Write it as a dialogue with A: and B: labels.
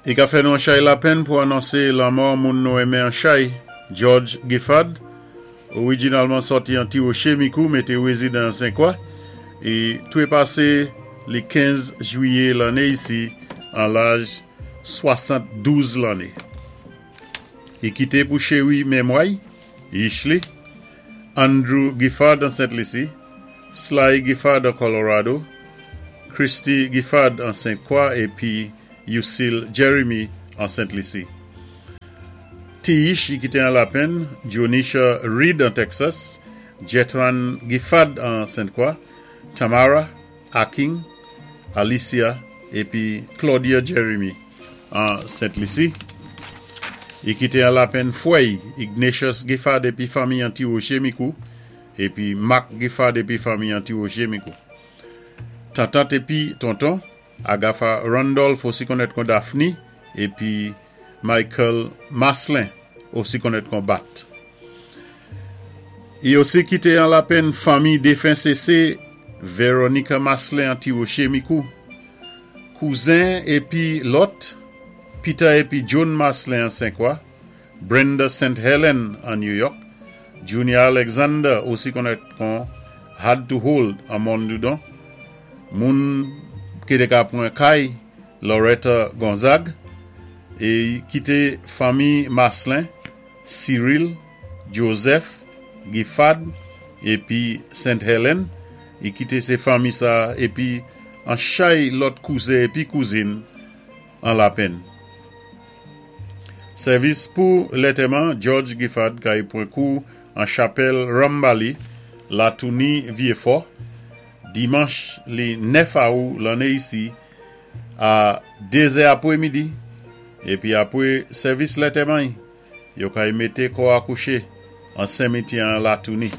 A: I ka fè nou an chay lapenn pou anonsé lanmò moun nou enmen an chay, George Giffard, orijinalman sòti an Ti Woché, Mikou, mé té rézidan an Senkwa, i twépasé li 15 jwiyé lanné isi an laj 72 lanné. I kité pou chéri mémwa-y, yich li, Andrew Giffard an Sent Lisi, Sly Giffard an Colorado, Christy Giffard an Sent Kwa épi Lucille Jeremy an Sent Lisi. Ti yich i kité an lapenn, Jonisha Reed an Texas, Jethran Giffard an Sent Kwa, Tamara Aking, Alicia épi Claudia Jeremy an Sent Lisi. I kité an lapenn fwè-y, Ignatius Giffard épi fanmi an Ti Woché Mikou, épi Mark Giffard épi fanmi an Ti Woché Mikou. Tantant épi tonton, Agatha Randolph osi konnèt kon Daphne épi Michael Maslin osi konnèt kon Bat. I osi kité an lapenn fanmi défen CC Veronica Maslin an Ti Woché Mikou. Kouzen épi lòt, Peter épi Joan Maslin an Senkwa, Brenda St. Helen an New York, Junior Alexander osi konnèt kon Hard to Hold an Mòn Doudon, moun ki té ka pran kay Loretta Gonzague é kité fanmi Maslin, Cyril, Joseph, Giffard épi St. Helen, i kité sé fanmi sa épi an chay lòt kouzen épi kouzin an lapenn. Sèvis pou lantèman George Giffard kay pran kou an chapèl Rambali, Latouni Vyéfò, dimanch li 9 awou lanné isi a 2 zè apwé midi, épi apwé sèvis lantèman yo kay mété kò a kouché an senmityè an Latouni.